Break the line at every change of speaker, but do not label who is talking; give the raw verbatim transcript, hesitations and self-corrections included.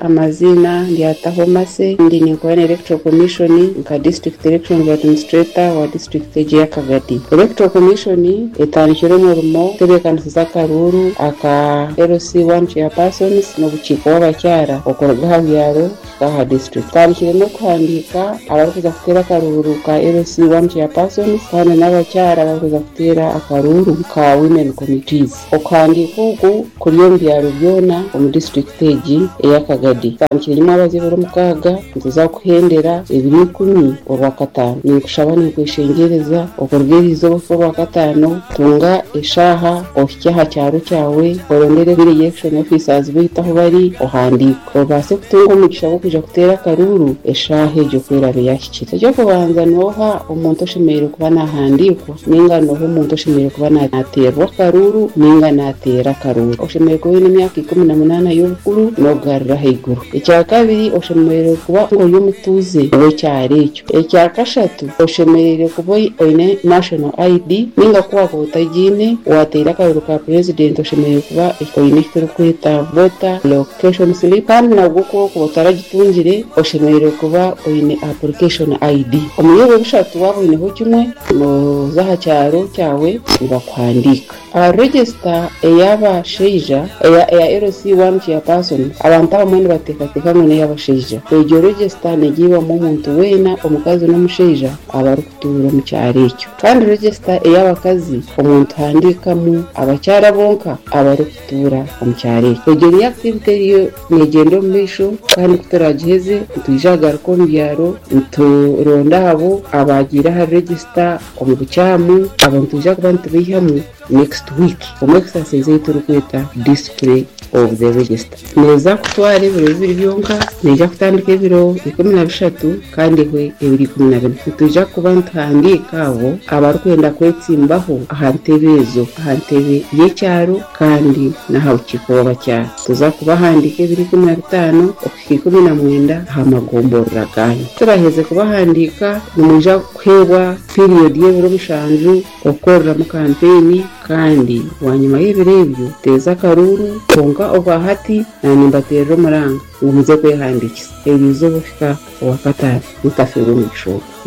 Amazina ndyataho Mase, ndi ninkora na Electoral Commission nka District Elections Administrator wa district egi ya Kagadi. Electoral Commission etandikire omurimo kutebeekanisiza akaruuru aka L C one chairpersons n'obukiiko bw'abakyara okuruga aha byaro kuhika aha district. Tutandikire n'okuhandiika abarikuza kuteera akaruuru ka L C one chairpersons kandi n'abakyara abarikuza kuteera akaruuru ka women committees. Okuhandiika oku kuri omu byaro byona omu district egi eya Kagadi. Tutandikire nyuma ebiro mukaaga, nituza kuhendera ebiro ikumi Orwakataano. Ninkushaba, ninkweshengyereza, okuruga eriizooba okuhika Orwakataano, tunga eshaaha ohike aha kyaro kyawe, orondere village election officers baitu ahu bari, ohandiike obaase kutunga omugisha gw'okwija kuteera akaruuru eshaaha egyo ku eraabe yahikire. Ekyokubanza, nooha omuntu oshemereire kuba nahandiikwa ninga nooha omuntu oshemereire kuba nateerwa akaruuru ninga nateera akaruuru? Oshemereire kuba oine emyaka ikumi na munaana y'obukuru n'okugarura ahaiguru. Ekya kabiri, oshemereire kuba ori omutuuze w'ekyaro ekyo. Ekya kashatu, oshemereire kuba oine national I D, ninga ku wakuba otagiine, wateera akaruuru ka president, oshemereire kuba oine eki turikweta voter location slip, kandi nabwo ku okuba otaragitungire, oshemereire kuba oine application I D. Omuri ebyo bishatu waaba oineho kimwe, nooza aha kyaro kyawe nibakuhandiika. Aha register ey'abashaija eya eya L C one chairperson, abantu abamwe nibateekateeka ngu n'ey'abashaija. Egyo register negiibwamu omuntu weena, omukazi n'omushaija, abarikutuura omu kyaro ekyo. Kandi register ey'abakazi, omuntu ahandiikamu abakyara bonka abarikutuura omu kyaro ekyo. Egyo niyo activity eriyo negyenda omu maisho, kandi kuturagiheze nitwija kugaruka omu byaro nituronda abo abagiire aha register omu bukyamu. Abo nitwija kuba nitubaihamu next week omu exercise ei turikweta display of the register. Neeza kutwara ebiro bibiri byonka, neija kutandika ebiro ikumi na bishatu kandi ehwe ebiro ikumi na bina. Nitwija kuba nituhandiika abo abarikwenda kwetsimbaho aha ntebe ezo, aha ntebe y'ekyaro kandi n'aha bukiiko bw'abakyara. Tuza kubahandiika ebiro ikumi na bitaano okuhika ikumi na mwenda aha magomborora ganyu. Turaheze kubahandiika, nimwija kuheebwa period y'ebiro mushanju okukoreramu kampeyini, kandi bwanyima y'ebiro ebyo teeza akaruuru. Kwonka obwahati nanimbateerera omuranga ngu muze kwehandiikisa eriizooba okuhika Owakataano, mutafeerwa omugisha ogwo.